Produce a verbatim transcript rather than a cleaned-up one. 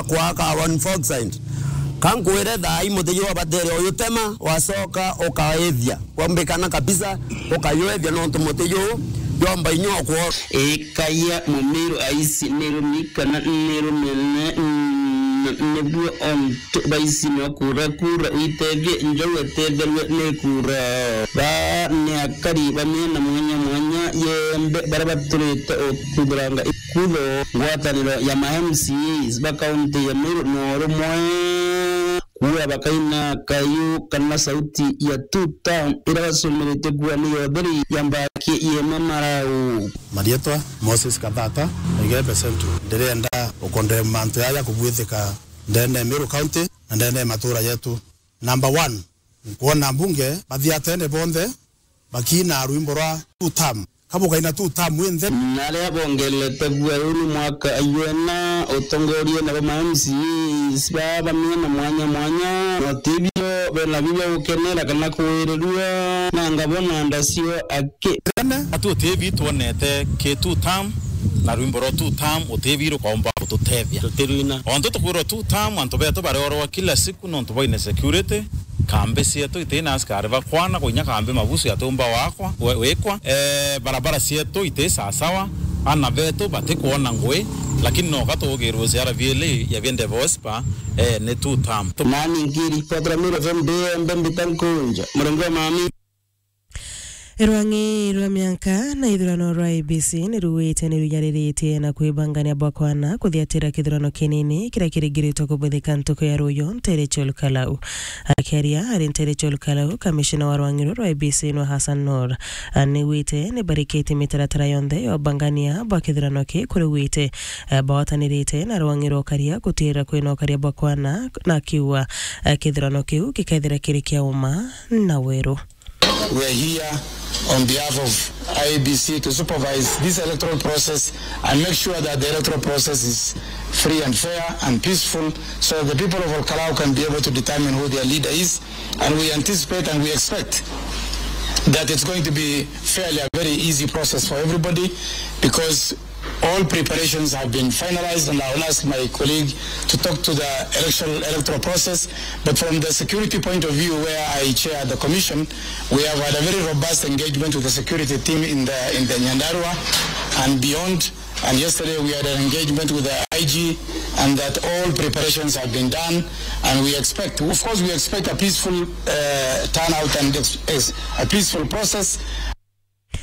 kwaka one four side. Ka nkwire thaa ii muti juu wabatere uyutema, wacoka ukaethia. Wambikana kabisa, ukayuethia nontu muti juu jwamba inya ukwo. Ikaia mumiru aisi ni rumi kana ni rumene, mm, nibuo ontu baisi no kura kura uitethie njou etetherue ni kura. Ba ni akari ba miena mwanya mwanya yembe bara baturite ukuthuranga ikutho ngwataniro ya ma M C As ba kaunti ya Meru no rumwe kuura bakaina kayu kana sauti ya two term ira bacumiritie kuua ni yotheri ya mbaki yema marau. Marietwa Moses Kathata, Igembe Central. Ndirenda ukondemba mantu yaya kubwithika ndene ya Meru County na ndene ya matura yetu. Number one, nkwona mbunge bathiatene bonthe bakiina rwimbo rwa two term. Kabukaina two term winthe. Na aria bongelete bua riu ni mwaka ayuena utongorie nabo ma M C As ba ba miena mwanya mwanya, na tibio bena biu bia gukenera kana kuwirirua, na ngabona ndacio aki. Tene atu utibi twonete ki two term, na rwimbo rwa two term utibi rukomba gututethia. Tutirwina. Ontu tukwirwa two term, antu betu bariorwa kila siku nontu bwa insecurity, kambi cietu iti na askari bakwana, kuinya kambi mabusu yatumba wakwa, we-, wikwa. Eh, barabara cietu iti sasawa, ana betu batikwona ngui, lakini noka tugirwe C R V L ya Biende Vospa, eh, ni two term. Nani nkiripotera Meru F M ndi embe mbita nkunja, murengo wa mami. Rwang'i rwa mianka na ithurano rwa I E B C ni ruwite ni runyariritie na kwibangania bwa kwana kuthiatira kithurano kinini kiria kiringiritwe kubuthika ntuku ya ruyu ntere cia Olkalau. Akiaria ari ntere cia Olkalau, kamishina wa rwang'i ruru rwa I E B C nwe Hassan Noor, a, ni wite ni barikite mitaratara yonthe ya ubangania bwa kithurano ki kuri wite, a, bawatanirite na rwang'i rwa ukaria gutiira kwina ukaria bwa kwana, na akiuga, a, kithurano kiu gikethira kiri kia uma na weru. We are here on behalf of I E B C to supervise this electoral process and make sure that the electoral process is free and fair and peaceful, so that the people of Olkalau can be able to determine who their leader is. And we anticipate and we expect that it's going to be fairly a very easy process for everybody, because all preparations have been finalized, and I will ask my colleague to talk to the election, electoral process. But from the security point of view, where I chair the commission, we have had a very robust engagement with the security team in the, in the Nyandarua and beyond. And yesterday we had an engagement with the I G, and that all preparations have been done. And we expect, of course, we expect a peaceful, uh, turnout and ex-, ex-, a peaceful process.